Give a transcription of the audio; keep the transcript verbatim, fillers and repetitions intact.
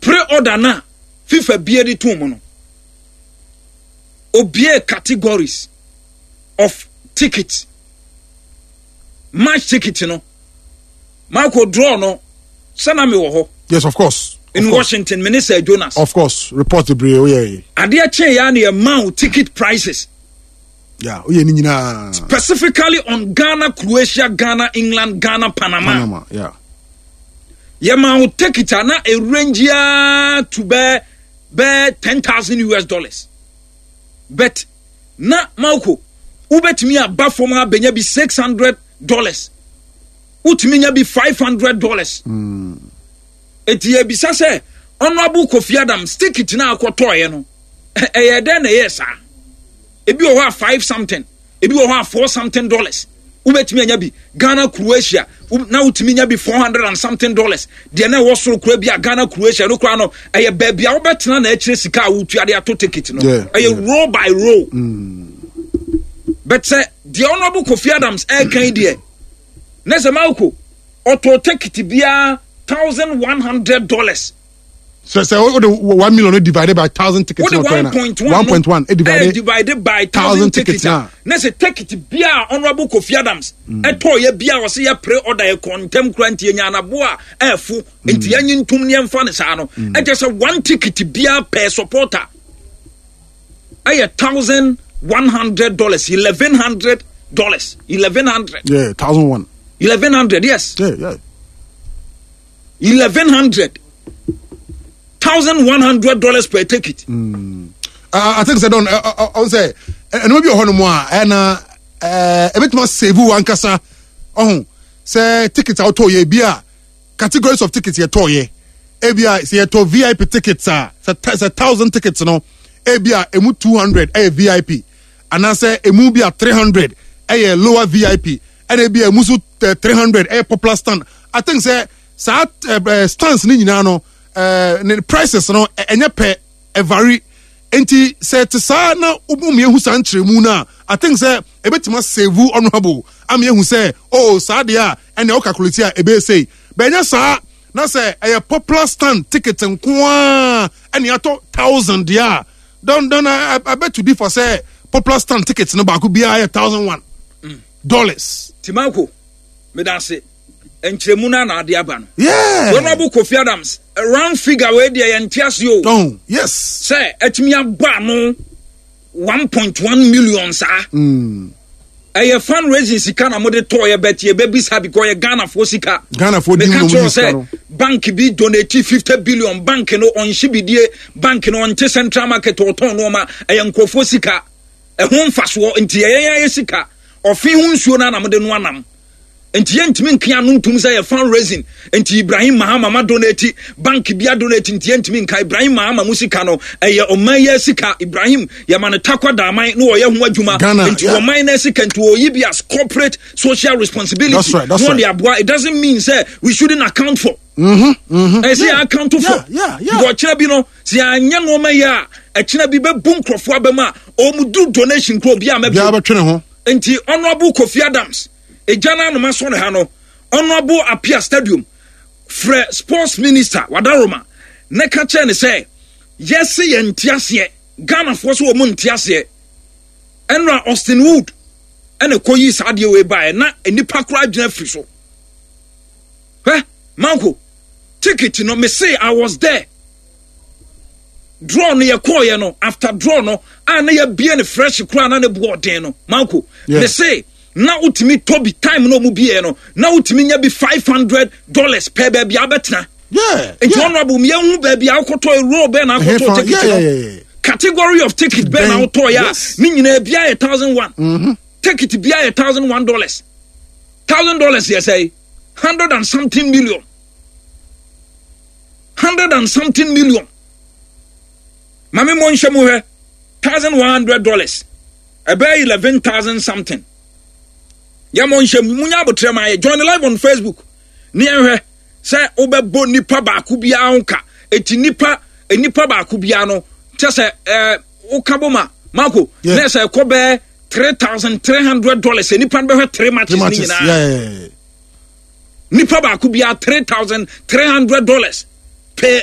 Pre-order na FIFA bie de tom mu no, obie categories of ticket, match ticket no. Marco, draw no sɛna mi wɔ hɔ. Yes, of course. In of course. Washington, me ne Sir Jonas. Of course, report bebree o yɛ. Adeɛ kyɛn ya na yɛ ma ticket prices. Yeah, o yɛ ni nyinaa. Specifically on Ghana Croatia, Ghana England, Ghana Panama. Panama, yeah. Yɛ ma wo ticket a na erange ya to bɛɛ bɛɛ ten thousand U S dollars, but na Marco, wobɛtumi aba fam abɛnya bi six hundred dollars, wotumi nya bi five hundred dollars. Eti ebisa sɛ, Honourable Kofi Adams, ticket na akɔtɔɔyɛ no, ɛyɛ dɛn na ɛyɛ saa? Ebi wɔ hɔ a five something, ebi wɔ hɔ a four something dollars wobɛtumi anya bi. Ghana Croatia na wotumi nya bi four hundred and something dollars. Deɛ na ɛwɔ soro kora bi a Ghana Croatia no kora no, ɛyɛ baabi a wobɛtena na akyerɛ sika a wotua de ato ticket no. Ɛyɛ row by row mm. But sɛ deɛ Honourable Kofi Adams ɛɛkan deɛ ne sɛ Marco ɔtɔ ticket biara thousand one hundred dollars. So sɛ o de one million divided by thousand tickets. O de one point one. One point one divided divided by thousand tickets na ne sɛ ticket bia Honourable Kofi Adams ɛtɔ yɛ bia ɔsɛ yɛ pre order yɛ kɔntɛm kura nti yɛ nyanabo a ɛɛfo nti yɛn nyi ntum ne yɛn fa ne saa no, ɛkyɛ sɛ one ticket bia per supporter ɛyɛ thousand one hundred dollars, eleven hundred dollars, eleven hundred. Yeah, thousand one. Eleven hundred, yes. Yeah yeah. Eleven hundred. Thousand one hundred dollars per ticket. Mm. Uh, I think sɛ don ɔn sɛ ɛnum bi wɔ hɔ nom a ɛna ɛɛ ebituma save wankasa ɔhun sɛ ticket a wotɔ yɛ bi a, categories of tickets yɛ tɔ yɛ, ebi a sɛ yɛtɔ V I P tickets a, sɛ sɛ thousand tickets no, ebi a emu two hundred ɛyɛ V I P, anaasɛ emu bi a three hundred ɛyɛ lower V I P, ɛna ebi a emu so three hundred ɛyɛ popular stand. I think sɛ saa ɛɛ stands ne nyinaa no, ɛɛ ne prices no ɛnyɛ pɛ, ɛvary. Nti sɛ te saa na wɔn ehu saa nkyerɛmu no a, I think sɛ ebetuma save Honourable ama ehu sɛ, oh, saa deɛ a ɛna ɛwɔ calculate a ebe sei bɛnyɛ saa. Na sɛ ɛyɛ popular stand ticket nkoaa ɛna yɛatɔ thousand deɛ a, don don I, I beg to differ sɛ popular stand ticket no baako biara yɛ thousand one dollars. Timako, medase nkyerɛmu no ana ade aba no. Yeah. Honourable Kofi Adams, round figure wei deɛ yɛnte ase o. Oh, yes. Sɛ atumi abɔ ano one point one million saa. Mm. Ɛyɛ fundraising sika na mode tɔɔ yɛ bɛti yɛbɛbisa because yɛ Ghanafoɔ sika. Ghanafoɔ di meka mu kyerɛ sika sɛ no. Bank bi donate fifty billion, bank no ɔnhye bidie, bank no ɔnte central market ɔtɔn nneɛma, ɛyɛ nkurɔfoɔ sika ɛho mfasoɔ nti ɛyɛ yɛn ayɛ sika ɔfe ho nsuo no anam de no anam nti yɛntumi nka ano ntum sɛ yɛ fundraising nti Ibrahim Mahama ma donate, bank bi adonate nti yɛntumi nka Ibrahim Mahama mu sika no ɛyɛ ɔman yɛ sika. Ibrahim yɛma no takwa daaman na ɔyɛ ho adwuma. Ghana, nti yeah. ɔman no sika nti ɔyi bi as corporate social responsibility. That's right, that's na ɔde right. aboa. It doesn't mean sɛ we shouldn't account for. Mm-hmm, mm-hmm. Ɛsɛ yɛ account for. Yeah, yeah, yeah. Because ɔkyerɛ bi no sɛ yɛanyɛ nneɛma yi a, ɛkyerɛ bi bɛbu nkurɔfoɔ abɛm a ɔmu du donation kuro bi a Biara mɛbi. bɛtwe ne ho. Nti Honourable Kofi Adams, egya no anoma sɔ ne ha no, Honourable Apia Stadium, frɛ sports minister Wadaroma ne ka kyerɛ ne sɛ yɛse yɛn nte aseɛ, Ghanafoɔ so wɔn nte aseɛ. Ɛnura Austin Wood ɛna kɔ yi saa adeɛ wei baeɛ na nipa koraa gyina firi so. Hwɛ manko ticket no, me say I was there. Draw no yɛ kɔɔyɛ no, after draw no a na yɛbie no fresh koraa na ne bu ɔden no, manko Yeah. me say na wotumi tɔ bi time na ɔmu bie no, na wotumi nya bi five hundred dollars pɛ baabi a wobɛtena. Yeah. Nti yeah. Honourable, yɛhu baabi a wokɔtɔ, row bɛɛ na akɔtɔ Ɛhefa- ticket yeah, no, yeah, yeah, yeah. category of ticket bɛɛ na Bɛn, wotɔ yɛ yes. a ne nyinaa bia yɛ thousand one, ticket bia yɛ thousand one dollars. Thousand dollars yɛ sɛ hundred and something million, hundred and something million. Maame mo nhyɛ mu hwɛ, thousand one hundred dollars ɛbɛyɛ eleven thousand something. Yɛ mo nhyɛ mu, munya abotire ma yɛ join live on Facebook ne yɛn hwɛ sɛ wobɛbɔ nipa baako biara ho ka. Eti nipa nipa baako biara no kyɛ sɛ ɛɛ woka bɔ ma Marco Yeah. na sɛ ɛkɔ bɛɛ three thousand three hundred dollars nipa no bɛhwɛ three matches Three ne matches. nyinaa. Yeah, yeah, yeah. Nipa baako biara three thousand three hundred dollars per